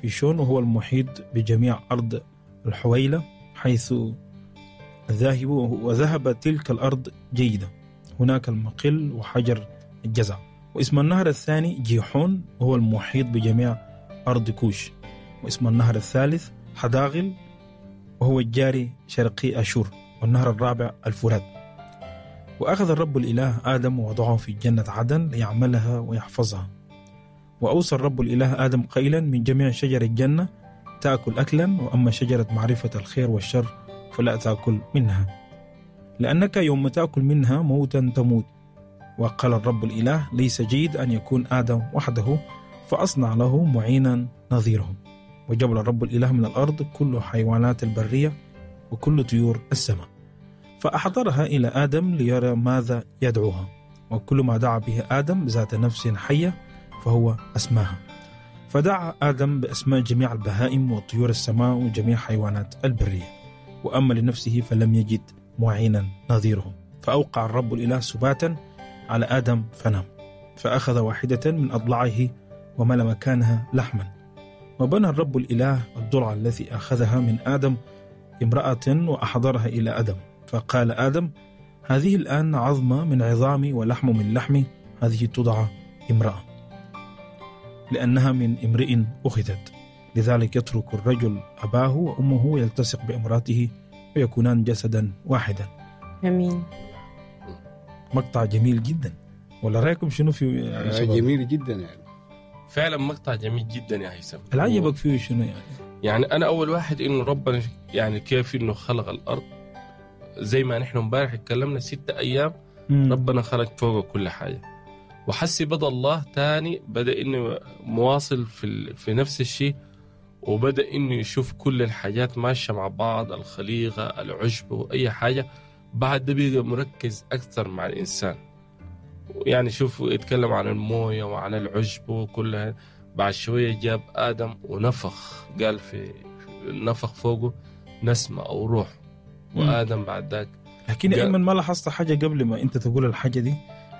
فيشون، وهو المحيط بجميع أرض الحويلة حيث ذاهب، وذهب تلك الأرض جيدة، هناك المقل وحجر الجزع. واسم النهر الثاني جيحون، وهو المحيط بجميع أرض كوش. واسم النهر الثالث حداغل، وهو الجاري شرقي أشور. والنهر الرابع الفرات. وأخذ الرب الإله آدم ووضعه في جنة عدن ليعملها ويحفظها. وأوصى الرب الإله آدم قائلا: من جميع شجر الجنة تأكل أكلا، وأما شجرة معرفة الخير والشر فلا تأكل منها، لأنك يوم تأكل منها موتا تموت. وقال الرب الإله: ليس جيد أن يكون آدم وحده، فأصنع له معينا نظيره. وجبل الرب الإله من الأرض كل حيوانات البرية وكل طيور السماء، فأحضرها إلى آدم ليرى ماذا يدعوها. وكل ما دعا به آدم ذات نفس حية فهو أسماها. فدعا آدم بأسماء جميع البهائم وطيور السماء وجميع حيوانات البرية، وأما لنفسه فلم يجد معينا نظيره. فأوقع الرب الإله سباتا على آدم فنام، فأخذ واحدة من أضلاعه وملأ مكانها لحما. وبنى الرب الإله الضلع الذي أخذها من آدم امرأة وأحضرها إلى آدم. فقال آدم: هذه الآن عظمة من عظامي ولحم من لحمي، هذه تدعى امرأة، لأنها من امرئ أخذت. لذلك يترك الرجل أباه وأمه ويلتصق بامرأته ويكونان جسدا واحدا. أمين. مقطع جميل جدا، ولا رأيكم شنو في شباب؟ جميل جدا يعني، فعلا مقطع جميل جدا يا هيثم. العجبك فيه شنو يعني؟ يعني أنا أول واحد إنه ربنا يعني كيف إنه خلق الأرض، زي ما نحن امبارح اتكلمنا 6 أيام ربنا خلق فوق كل حاجة. وحسي بدأ الله تاني، بدأ إنه مواصل في نفس الشيء، وبدأ إنه يشوف كل الحاجات ماشية مع بعض، الخليقة، العشب، وأي حاجة. بعد ده بيبقى مركز أكثر مع الإنسان، يعني شوف يتكلم عن الموية وعن العشب وكلها. بعد شوية جاب آدم ونفخ، قال في نفخ فوقه نسمة أو روح، وآدم بعد ذاك. لكن أيمن ما لاحظت حاجة قبل ما أنت تقول الحاجة دي؟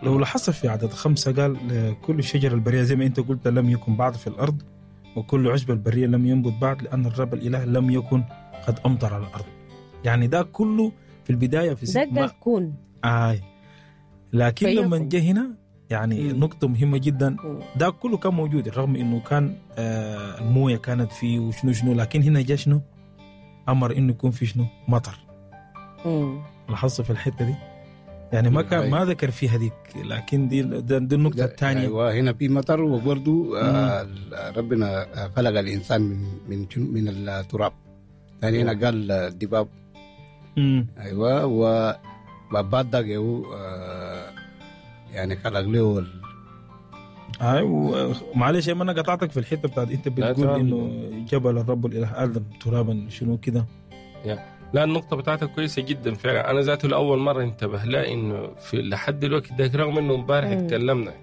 لو لاحظت في عدد 5 قال كل شجر البرية زي ما أنت قلت لم يكن بعد في الأرض، وكل عشب البرية لم ينبت بعد، لأن الرب الإله لم يكن قد أمطر على الأرض. يعني ده كله في البداية في ده الكون. لكن لما جه هنا يعني نقطة مهمة جدا، ده كله كان موجود رغم إنه كان الموية كانت فيه وشنو شنو، لكن هنا جه شنو؟ أمر إنه يكون في شنو؟ مطر. لاحظت في الحتة دي؟ يعني ما كان ما ذكر فيها ديك، لكن دي النقطة الثانية. أيوة، هنا في مطر، وبرضو ربنا خلق الإنسان من من التراب. ثاني هنا قال الدباب. أيوة، وبعد ده يعني خلق له أيوة. معلش أنا قطعتك في الحتة بتاعت أنت بتقول إنه جبل الرب الإله آدم ترابا شنو كده. لا، النقطة بتاعتك كويسة جدا فعلا. أنا ذاته لأول مرة انتبه لها إنه في لحد الوقت ده، رغم إنه امبارح اتكلمنا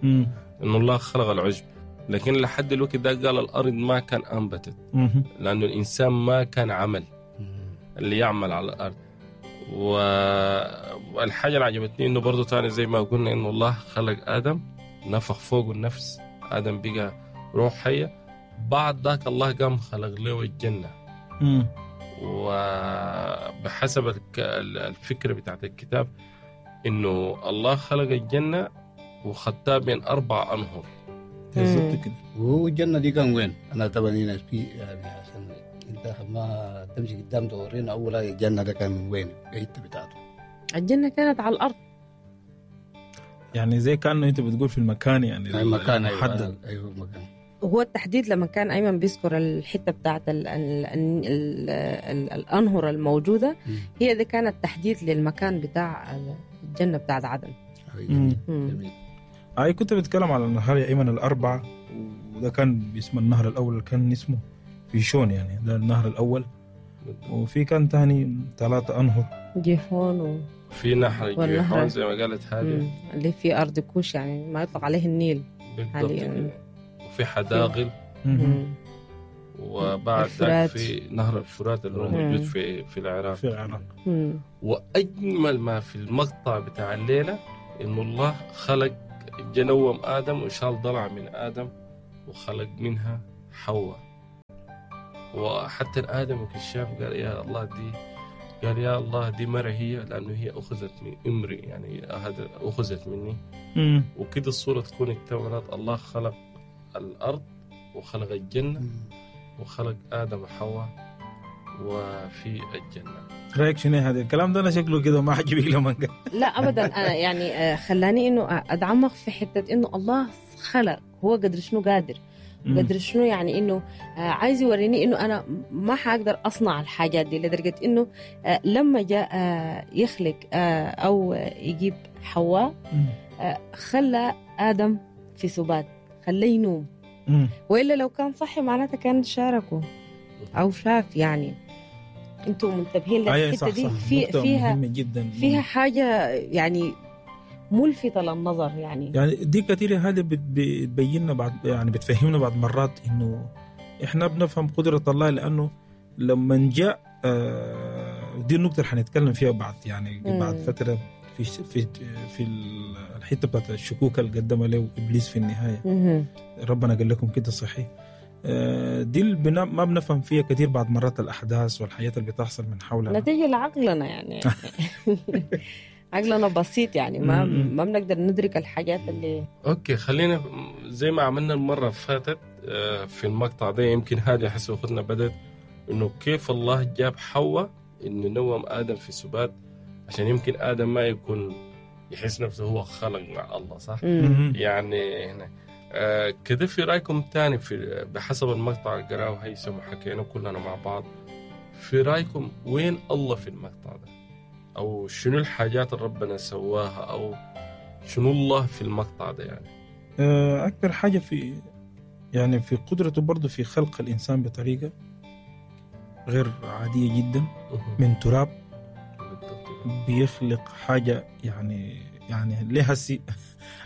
إنه الله خلق العشب، لكن لحد الوقت ده قال الأرض ما كان أنبتت، لأنه الإنسان ما كان عمل اللي يعمل على الأرض. والحاجة اللي عجبتني إنه برضو تاني زي ما قلنا إنه الله خلق آدم، نفخ فوق النفس، آدم بقى روح حية. بعد ذاك الله قام خلق له الجنة. وبحسب الفكرة بتاعت الكتاب إنه الله خلق الجنة وخدتها بين 4 أنهر. بالضبط كده. والجنة دي كان وين؟ أنا طبعا هنا في يعني عشان أنت ما تمشي قدام تورينا أول الجنة ده كان وين؟ الحتة بتاعته. الجنة كانت على الأرض. يعني زي كأنه أنت بتقول في المكان، يعني المكان محدد. أيوه المكان. هو التحديد لما كان أيمن بيذكر الحتة بتاعت الأنهر الموجودة، هي دي كانت تحديد للمكان بتاع الجنة بتاعت عدن. أي كنت بتكلم على النهر يا أيمن 4، وده كان باسم النهر الأول كان اسمه فيشون، يعني ده النهر الأول. وفي كان تاني 3 أنهر، جيحون في نهر جيحون زي ما قالت هذه اللي في أرض كوش، يعني ما يطلق عليه النيل بالضبط. وفي حداغل، وبعد ذلك في نهر الفرات اللي هو موجود في العراق. في العراق. وأجمل ما في المقطع بتاع الليلة إنه الله خلق جنوم آدم وشال ضلع من آدم وخلق منها حواء. وحتى آدم كشاف قال يا الله دي، قال يا الله دي مرة هي، لأنه هي أخذت من إمري، يعني هذا أخذت مني. وكده الصورة تكون اكتملت. الله خلق الأرض وخلق الجنة وخلق آدم وحواء وفي الجنة. رأيك شنو هذا الكلام ده؟ أنا شكله كده ما عجبك لما قال. لا أبدا، أنا يعني خلاني إنه أتعمق في حتة إنه الله خلق، هو قدر شنو قادر، قدر شنو، يعني إنه عايز يوريني إنه أنا ما حقدر أصنع الحاجات دي، لدرجة إنه لما جاء يخلق أو يجيب حواء خلى آدم في سبات، خليه ينوم، وإلا لو كان صحي معناته كان شاركه أو شاف. يعني أنتم منتبهين للحتة دي؟ فيها جدا، فيها حاجة يعني ملفتة للنظر. يعني دي كثير هذا بتبيننا بعد، يعني بتفهمنا بعض مرات إنه إحنا بنفهم قدرة الله، لأنه لما جاء دي النقطة اللي حنتكلم فيها بعد، يعني بعد فترة في في في الحتة بتاعت الشكوك اللي قدمها له إبليس في النهاية. ربنا قال لكم كده صحيح. دي ما بنفهم فيها كثير بعد مرات الأحداث والحياة اللي بتحصل من حولنا، نتيجة لعقلنا يعني. عقلنا بسيط يعني ما بنقدر ندرك الحاجات اللي. okay، خلينا زي ما عملنا المرة اللي فاتت في المقطع ده، يمكن هذه حسب أخذنا بدت إنه كيف الله جاب حواء إنه نوم آدم في سبات، عشان يمكن آدم ما يكون يحس نفسه هو خلق مع الله، صح؟ يعني هنا كده في رأيكم تاني في بحسب المقطع اللي قراه هيثم وحكينا كلنا مع بعض، في رأيكم وين الله في المقطع ده؟ أو شنو الحاجات اللي ربنا سواها، أو شنو الله في المقطع ده يعني؟ أكثر حاجة في يعني في قدرته برضو في خلق الإنسان بطريقة غير عادية جدا، من تراب بيخلق حاجة يعني لها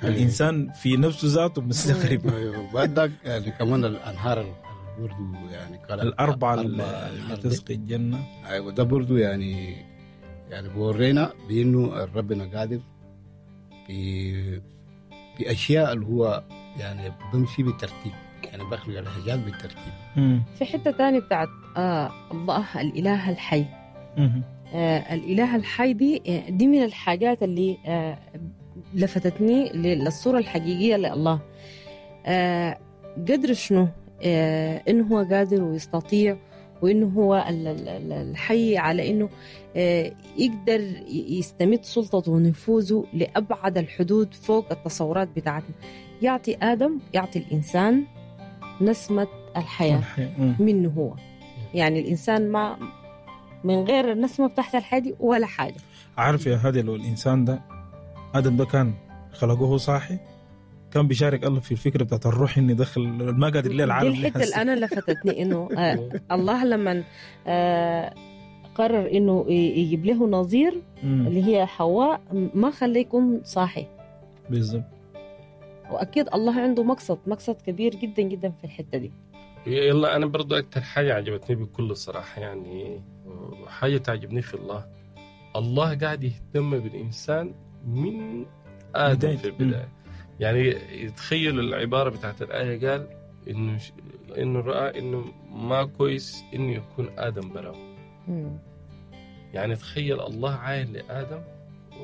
الإنسان في نفسه ذاته مستغرب. وبعدك يعني كمان الأنهار برضو يعني الأربعة اللي تسقي الجنة. أيوة، ده برضو يعني بورينا بأنه ربنا قادر بأشياء اللي هو يعني بمشي بالترتيب، يعني بخلق الحاجات بالترتيب. في حتة تانية بتاعت الله الإله الحي. الإله الحي دي من الحاجات اللي لفتتني للصورة الحقيقية لله. قدر شنو إنه هو قادر ويستطيع، وإنه هو الحي على إنه يقدر يستمد سلطته ونفوذه لأبعد الحدود فوق التصورات بتاعتنا. يعطي آدم، يعطي الإنسان نسمة الحياة منه هو. يعني الإنسان ما من غير النسمة بتاعت الحياة دي ولا حاجة. عارف يا هادي، لو الإنسان ده آدم ده كان خلقوه صاحي، كان بيشارك الله في الفكرة بتاعت الروح إني دخل ما قادر ليه العالم. دي الحتة اللي أنا لفتتني إنه الله لما قرر إنه يجيب له نظير اللي هي حواء، ما خليه يكون صاحي. بالضبط. وأكيد الله عنده مقصد كبير جدا جدا في الحتة دي. يلا أنا برضو أكتر حاجة عجبتني بكل صراحة، يعني حاجة تعجبني في الله، الله قاعد يهتم بالإنسان من آدم في البداية. يعني يتخيل العبارة بتاعت الآية، قال إنه رأى إنه ما كويس إنه يكون آدم براو. يعني تخيل الله عاين لآدم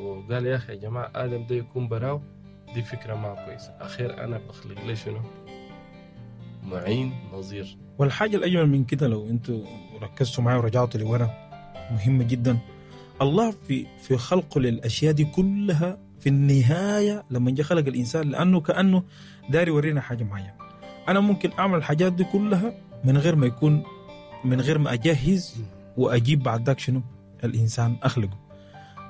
وقال يا أخي يا جماعة آدم ده يكون براو، دي فكرة ما كويسة، أخير أنا بخلق لي شنو؟ معين نظير. والحاجة الأجمل من كده لو أنتوا ركزتوا معي ورجعتوا لورا، مهمة جدا، الله في خلقه للأشياء دي كلها في النهاية لما جاء خلق الإنسان، لأنه كأنه داري يورينا حاجة معينة. أنا ممكن أعمل الحاجات دي كلها من غير ما يكون، من غير ما أجهز وأجيب بعد ذاك شنو الإنسان أخلقه،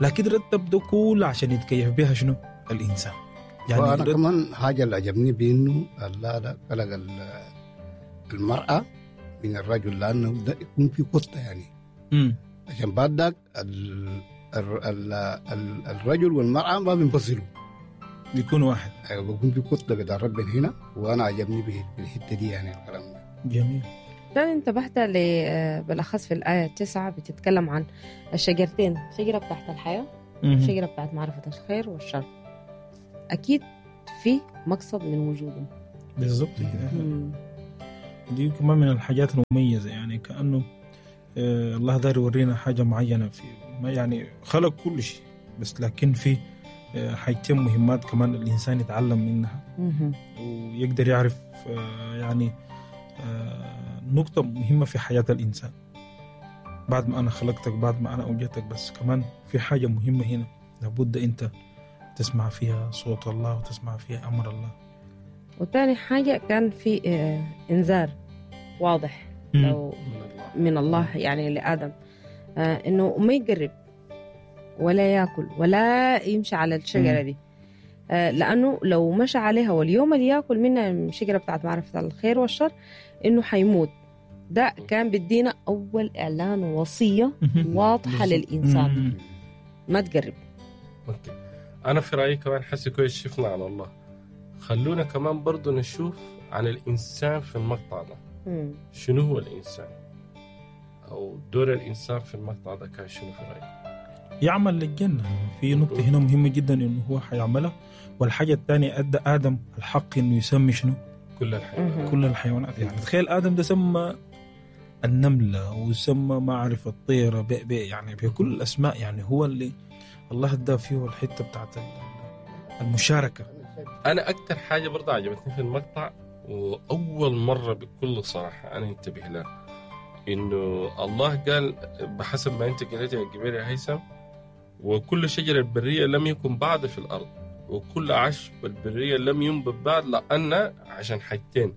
لكن رتب ده كله عشان يتكيف بها شنو الإنسان. يعني وأنا كمان حاجة اللي عجبني بأنه الله خلق المرأة من الرجل، لأنه ده يكون في قطة يعني. عشان بعد ذاك الرجل والمرأة ما بينفصلوا، بيكون واحد. أيوة، بيكون في قطة بتاع ربنا هنا، وأنا عجبني بالحتة دي يعني الكلام ده. جميل. تاني انتبهت بالأخص في الآية 9 بتتكلم عن الشجرتين، شجرة بتاعت الحياة، شجرة بتاعت معرفة الخير والشر. أكيد في مقصد من وجودهم. بالضبط كده. دي كمان من الحاجات المميزة، يعني كأنه الله داير يورينا حاجة معينة في، يعني خلق كل شيء بس لكن في حاجتين مهمات كمان الإنسان يتعلم منها ويقدر يعرف يعني نقطة مهمة في حياة الإنسان. بعد ما أنا خلقتك، بعد ما أنا أوجدتك، بس كمان في حاجة مهمة هنا لابد أنت تسمع فيها صوت الله وتسمع فيها أمر الله. وتاني حاجة كان في إنذار واضح لو من الله يعني لآدم، إنه ما يقرب ولا يأكل ولا يمشي على الشجرة دي، لأنه لو مشى عليها واليوم اللي يأكل منها الشجرة بتاعت معرفة الخير والشر إنه حيموت. ده كان بدينا أول إعلان وصية واضحة للإنسان، ما تقرب. أوكي. أنا في رأيي كمان حسي كويس شفنا على الله، خلونا كمان برضو نشوف عن الإنسان في المقطع ده. شنو هو الإنسان أو دور الإنسان في المقطع ده كان شنو في رأيك؟ يعمل للجنة. في نقطة هنا مهمة جدا إنه هو حيعملها. والحاجة الثانية أدى آدم الحق إنه يسمي شنو؟ كل الحيوانات. كل الحيوانات. يعني تخيل آدم ده سمى النملة وسمى ما أعرف الطيرة بي يعني بكل الأسماء، يعني هو اللي الله ادى فيه الحتة بتاعت المشاركة. أنا أكتر حاجة برضه عجبتني في المقطع، وأول مرة بكل صراحة أنا انتبه لها، إنه الله قال بحسب ما أنت قلت يا جبير يا هيثم، وكل شجرة البرية لم يكن بعد في الأرض، وكل عشب البرية لم ينبت بعد، لأن عشان حاجتين.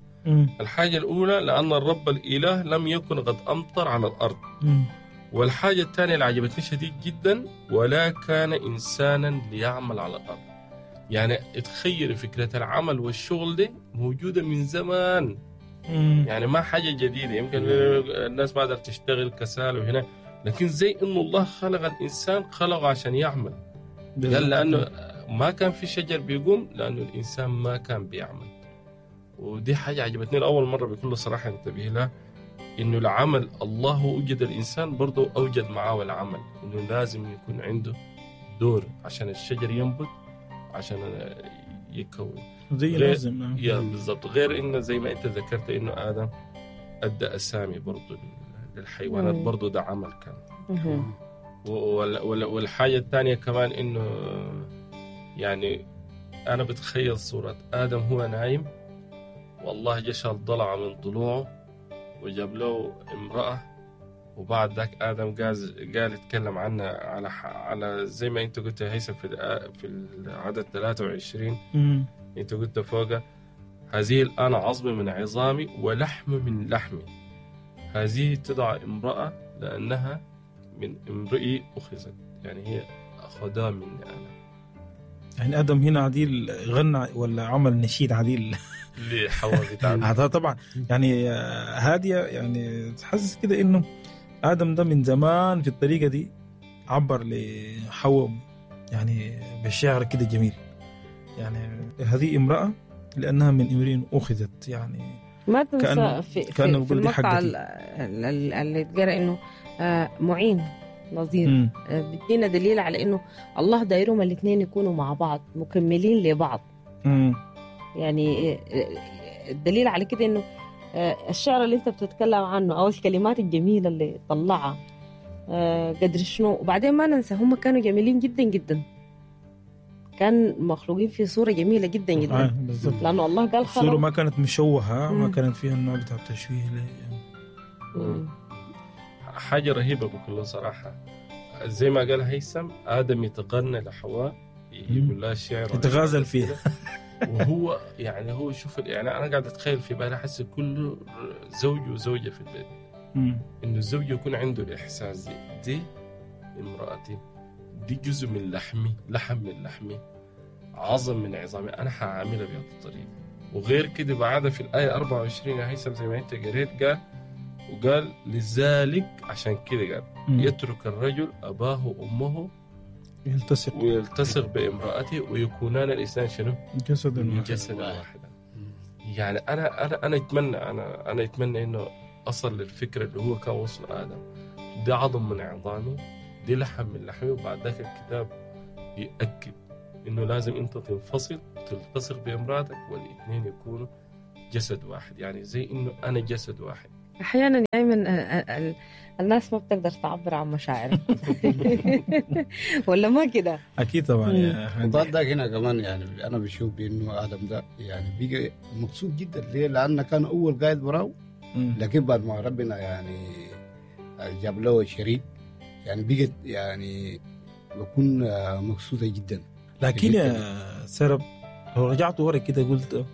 الحاجة الأولى لأن الرب الإله لم يكن قد أمطر على الأرض. والحاجة الثانية اللي عجبتني شديد جدا، ولا كان إنسانا ليعمل على الأرض. يعني تخيل فكرة العمل والشغل دي موجودة من زمان. يعني ما حاجة جديدة، يمكن الناس ما قدرت تشتغل كسال وهنا، لكن زي إنه الله خلق الإنسان خلقه عشان يعمل. قال لأنه ما كان في شجر بيقوم لأنه الإنسان ما كان بيعمل. ودي حاجة عجبتني لأول مرة بكل صراحة انتبه لها، إنه العمل الله أوجد الإنسان برضه أوجد معاه العمل، إنه لازم يكون عنده دور عشان الشجر ينبت، عشان يكون زي لازم. يا بالضبط. غير إنه زي ما أنت ذكرت إنه آدم أدى أسامي برضه للحيوانات، برضه ده عمل كان. والحاجة الثانية كمان إنه يعني أنا بتخيل صورة آدم هو نايم، والله جشل ضلع من ضلوعه وجاب له امرأة، وبعد ذاك آدم قال يتكلم عنها على زي ما أنت قلت يا هيثم في العدد 23. أنت قلت فوقه هذه الآن عظم من عظامي ولحم من لحمي، هذه تدعى امرأة لأنها من امرئي أخذت، يعني هي أخذها مني أنا. يعني آدم هنا عديل غنى ولا عمل نشيد عديل لحواء بتاعنا. هذا طبعا يعني هادية، يعني تحسس كده إنه آدم ده من زمان في الطريقة دي عبر لحواء يعني بالشعر كده جميل. يعني هذه امرأة لأنها من امرئ أخذت، يعني ما تنسى في المقطع اللي تقرأ إنه معين نظير، بدينا دليل على إنه الله دايرهم الاثنين يكونوا مع بعض مكملين لبعض. يعني الدليل على كده إنه الشعر اللي أنت بتتكلم عنه أو الكلمات الجميلة اللي طلعها قدر شنو. وبعدين ما ننسى هم كانوا جميلين جدا جدا، كان مخلوقين في صورة جميلة جدا جدا. بالضبط. لأنه الله قال خلق الصورة ما كانت مشوهة، ما كانت فيها النوع بتاع التشويه. حاجة رهيبة بكل صراحة. زي ما قال هيثم، آدم يتغنى لحواء، يقول لها الشعر يتغازل فيها. وهو يعني هو شوف يعني أنا قاعد أتخيل في بالي، أحس كل زوج وزوجة في البيت إنه الزوج يكون عنده الإحساس دي امرأتي، دي جزء من لحمي، لحم من لحمي، عظم من عظامي، أنا هعاملها بهذه الطريقة. وغير كده بعد في الآية 24 يا هيثم زي ما أنت قريت، قال وقال لذلك عشان كده قال يترك الرجل أباه وأمه ويلتصق بامرأته ويكونان الإنسان شنو؟ جسدا واحدا. يعني أنا أتمنى أنا أتمنى إنه أصل للفكرة اللي هو كان وصل آدم، دي عظم من عظامي، دي لحم من لحمي. وبعد ذاك الكتاب يأكد إنه لازم أنت تنفصل وتلتصق بامرأتك والاثنين يكونوا جسد واحد، يعني زي انه انا جسد واحد. احيانا دائما الناس ما بتقدر تعبر عن مشاعرها ولا ما كده؟ اكيد طبعا. وبعد ذاك هنا كمان يعني انا بشوف بانه ادم ده يعني بقى مبسوط جدا. ليه؟ لانه كان اول قاعد براو، لكن بعد ما ربنا يعني جاب له شريك يعني بقت يعني بكون مبسوطة جدا. لكن يا سرب لو رجعت ورا كده قلت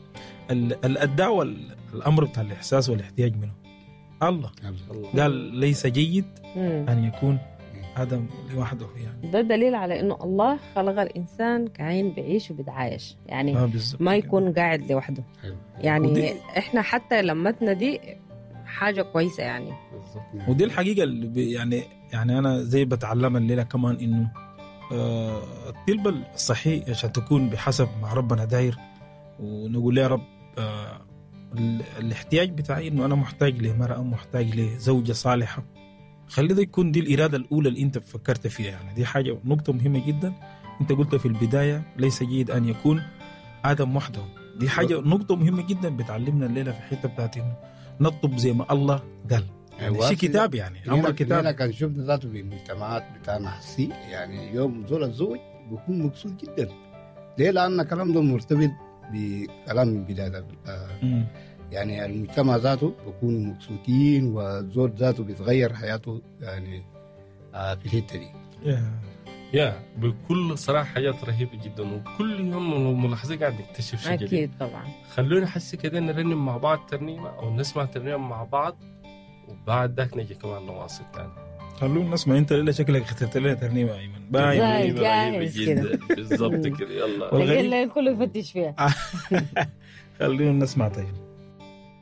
الدعوة الامر بتاع الاحساس والاحتياج منه الله قال ليس جيد أن يكون آدم لوحده. يعني ده دليل على إنه الله خلق الإنسان كائن بيعيش وبيتعايش، يعني ما يكون قاعد لوحده. يعني إحنا حتى لمتنا دي حاجة كويسة يعني. بالزبط. ودي الحقيقة اللي يعني أنا زي بتعلمها الليلة كمان إنه الطلبة الصحيح عشان تكون بحسب ما ربنا داير، ونقول يا رب الاحتياج بتاعي انه انا محتاج لمرأة، محتاج لزوجة صالحة. خلي ده يكون دي الإرادة الأولى اللي انت فكرت فيها. يعني دي حاجة نقطة مهمة جدا. انت قلت في البداية ليس جيد أن يكون آدم وحده. دي حاجة نقطة مهمة جدا بتعلمنا الليلة في الحتة بتاعت انه نطلب زي ما الله قال. يعني شيء كتاب، يعني أمر كتاب. أنا كان شفنا ذاته في المجتمعات بتاعنا حسي يعني يوم زول الزوج بيكون مبسوط جدا. ليه؟ لأن الكلام ده مرتبط بكلام من بداية يعني المجتمع ذاته بيكونوا مبسوطين، والزوج ذاته بيتغير حياته يعني في الحتة دي. يا بكل صراحة حاجات رهيبة جدا، وكل يوم ملاحظين قاعد نكتشف شيء جديد. أكيد طبعا. خلونا نحس كده نرنم مع بعض ترنيمة أو نسمع ترنيمة مع بعض، وبعد ذاك نجي كمان نواصل تاني. خلونا نسمع. انت ليه شكلك اخترت لنا ترنيمة ايمن؟ باين جاهز كده بالضبط كده. يلا الليل كله يفتش فيها. خلونا نسمع. طيب.